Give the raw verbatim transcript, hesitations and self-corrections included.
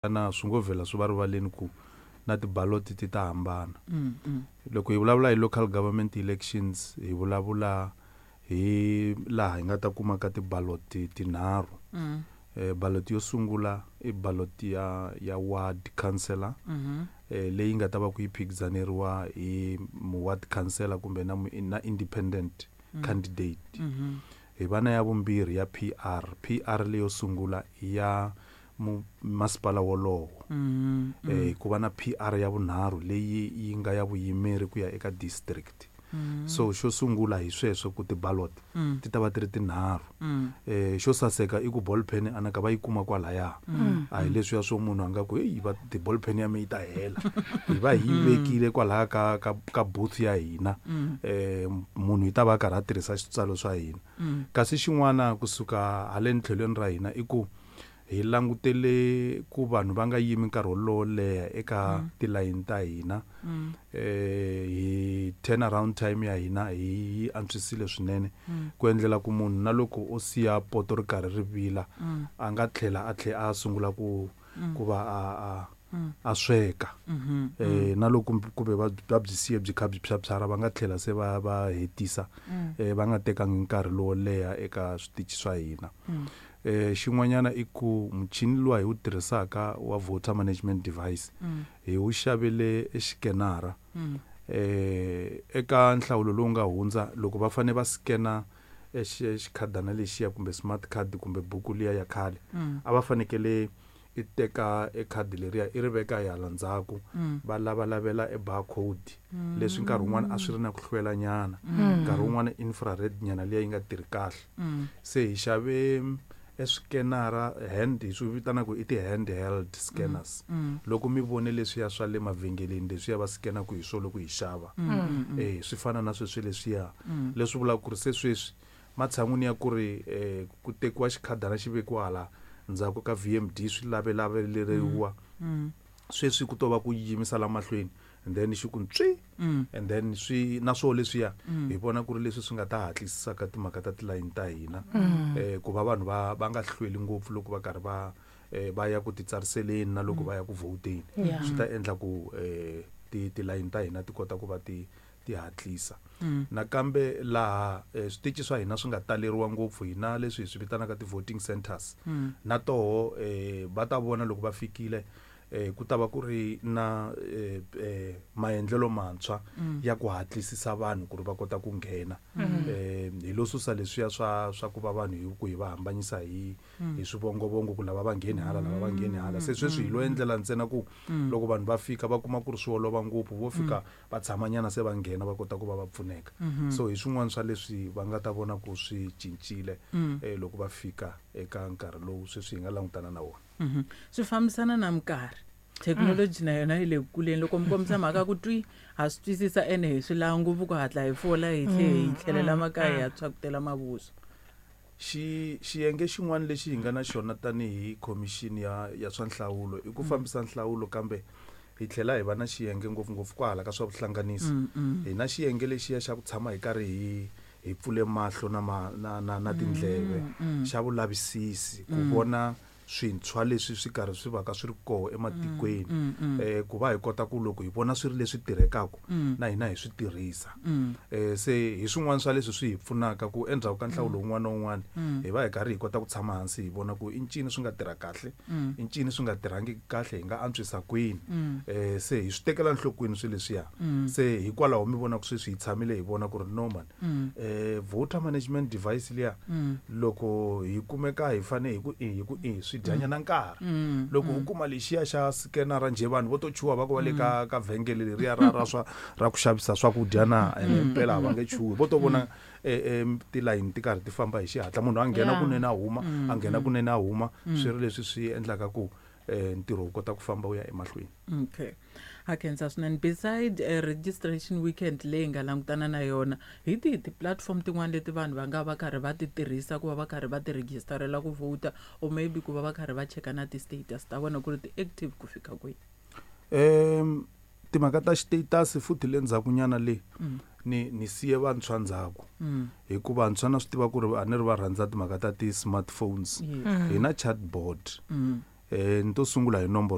Na swi ngo vhela swi va rivaleni ku na tibaloti ti ta hambana. Mm, mm. Loko hi vulavula hi local government elections, hi vulavula hi laha hi nga ta kuma ka tibaloti tinharhu. Mm. Eh, ballot yo sungula i ballot ya, ya ward councillor, Mm-hmm. eh, leyi nga ta va ku yi phikizaneriwa hi mu ward councillor kumbe na mu, na independent Mm. candidate. Mm-hmm. Hi va na ya vumbirhi ya P R. P R leyo sungula i ya mu-, masipala wolowo. Mm-hmm. Eh, ku va na P R ya vunharhu leyi yi nga ya vuyimeri ku ya eka district. Mm-hmm. So xo sungula hi sweswo ku ti-ballot Mm. ti ta va ti ri tinharhu. Mm. Eh, xo saseka i ku ball pen anaka va yi kuma kwalaya. Mm. A hi leswiya swo munhu a nga ku, hey, va ti-ball pen ya me yi ta hela. Hi va hi yi Mm. vekile kwalaya ka, ka, ka booth ya hina. Mm. Eh, munhu yi ta va a karhi a tirhisa switsalo swa hina. Mm. Kasi xin'wana kusuka haleni tlhelweni ra hina i ku hi langutele ku vanhu va nga yimi nkarhi wolowo leha eka Mm. tilayini ta hina. Mm. Eh, hi turnaround time ya hina hi yi antswisile swinene. Mm. Ku endlela ku munhu na loko o siya poto ri karhi ri vila, Mm. a nga tlhela a tlhe a sungula ku, Mm. ku va a, a, Mm. a sweka. Mm-hmm. Eh, na loko kumbe, kumbe va, va byi siye byi kha byi phyaphyara, va nga tlhela se va, va hetisa. Mm. Eh, va nga tekangi nkarhi lowo leha eka switichi swa hina. Mm. Eh, xin'wanyana i ku muchini luwa hi wu tirhisaka wa voter management device, Mm. hi wu xavele exikenara. Mm. Eh, eka nhlawulo lowu nga hundza, loko va fanele va scanner exi-, xikhadana lexiya kumbe smart card kumbe buku liya ya khale, Mm. a va fanekele i teka e khadi leriya i ri veka hi hala ndzhaku, Mm. va lavalavela e barcode, leswi nkarhi wun'wani a swi ri na ku hlwela nyana. Mm. Nkarhi wun'wani infrared nyana liya yi nga tirhi kahle. Mm. Se hi xave e scanner hand, hi swi vitanaka i ti-handheld scanners. Mm. Mm. Loko mi vone leswiya swa le mavhengeleni leswiya va scanaka hi swona loko hi xava. Mm, mm, mm. Eh, swi fana na sweswi leswiya. Mm. Leswi vulaka ku ri se sweswi matshan'wini ya ku ri, eh, ku tekiwa xikhadana xi vekiwa hala ndzhaku ka V M D swi lavelaveleriwa. Mm. Mm. Sweswi ku to va ku yimisa la mahlweni, and then xi ku ntswi, Mm. and then swi na swoho leswiya, Mm. hi vona ku ri leswi swi nga ta hatlisisaka timhaka ta tilayini ta hina. Mm. Eh, ku va vanhu va, va nga hlweli ngopfu loko va karhi va, eh, va ya ku titsariseleni na loko Mm. va ya ku vhoteni. Yeah. Swi ta endla ku, eh, ti-, tilayini ta hina ti kota ku va ti, ti hatlisa. Mm. Nakambe laha, eh, switichi swa hina swi nga taleriwa ngopfu, hina leswi hi swi vitanaka ti-voting centers. Mm. Na toho, eh, va ta vona loko va fikile, eh, ku ta va ku ri na, eh, eh, maendlelo mantshwa Mm. ya ku hatlisisa vanhu ku ri va kota ku nghena. Mm. Eh, hi lo susa leswiya swa, swa ku va vanhu hi ku hi va hambanyisa hi, Mm. hi swivongovongo ku lava va ngheni hala, lava va ngheni hala. Se sweswi hi lo Mm. endlela ntsena ku Mm. loko vanhu va fika va kuma ku ri swi olova ngopfu, vo fika Mm. va tshamanyana se va nghena va kota ku va va pfuneka. Mm-hmm. So hi swin'wana swa leswi va nga ta vona ku swi cincile, Mm. eh, loko va fika eka nkarhi lowu sweswi hi nga langutana na wona. Mm-hmm. Swi fambisana na minkarhi. Thekinoloji na yona yi le ku kuleni. Loko mi kombisa mhaka ku twi, ha swi twisisa ene hi swi lava ngopfu ku hatla hi fola hi tlhe hi Mm, tlhelela mm, makaya hi ya mm. tshwakutela mavuswa. Xi-, xiyenge xin'wana lexi hi nga na xona tanihi khomixini ya, ya swa nhlawulo i ku Mm. fambisa nhlawulo, kambe hi tlhela hi va na xiyenge ngopfungopfu kwahala ka swa vuhlanganisi. Mm, mm. Hi na xiyenge lexiya xa ku tshama hi karhi hi, hi pfule mahlo na ma-, na, na, na tindleve, Mm, mm. xa vulavisisi ku Mm. vona swintshwa leswi swi karhi swi vaka swi ri koho ematikweni. Mm, mm, mm. Eh, ku va hi kota ku loko hi vona swi ri leswi tirhekaka, Mm. na hina hi swi tirhisa. Mm. Eh, se hi swin'wana swa leswi swi hi pfunaka ku endzhaku ka nhlawulo Mm. wun'wana na wun'wana, Mm. hi va hi karhi hi kota ku tshama hansi hi vona ku i ncini swi nga tirha kahle, Mm. i ncini swi nga tirhangiki kahle, hi nga antswisa kwini. Mm. Eh, se hi swi tekela enhlokweni swilo leswiya. Mm. Se hikwalaho mi vona ku sweswi hi tshamile hi vona ku ri no man, Mm. eh, voter management device liya, Mm. loko hi kumeka hi fane hi ku i, hi ku i, swi dya nyana nkarhi. Mm, Loko u mm. kuma lexiya xa scanner njhe, vanhu vo to chuha va ku va le Mm. ka, ka vhengele leriya ra, ra swa, ra ku xavisa swakudya na, Mm, ene mpela va mm. nge chuhi. Vo to vona, Mm. eh, eh, tilayini ti karhi ti famba hi xihatla, munhu a nghena Yeah. kunene a huma, Mm, a nghena mm. kunene a huma, Mm. swi ri leswi swi endlaka ku, eh, ntirho wu kota ku famba wu ya emahlweni. Okay. Ha khensa swinene. Beside, eh, registration weekend leyi nga langutana na yona, hi tihi ti-platform tin'wana leti vanhu va nga va karhi va ti tirhisa ku va va karhi va ti registerela ku vhota, or maybe ku va va karhi va cheka na ti-status ta vona ku ri ti-active ku fika kwihi? Em, timhaka ta status futhi le ndzhakunyana le, Mm. ni, ni siye vantshwa ndzhaku. Mm. Hikuva vantshwa na swi tiva ku ri a ni ri va rhandza timhaka ta ti-smartphones. Yes. Mm. Hi na chatbot. Mm. Eh ni to sungula hi nomboro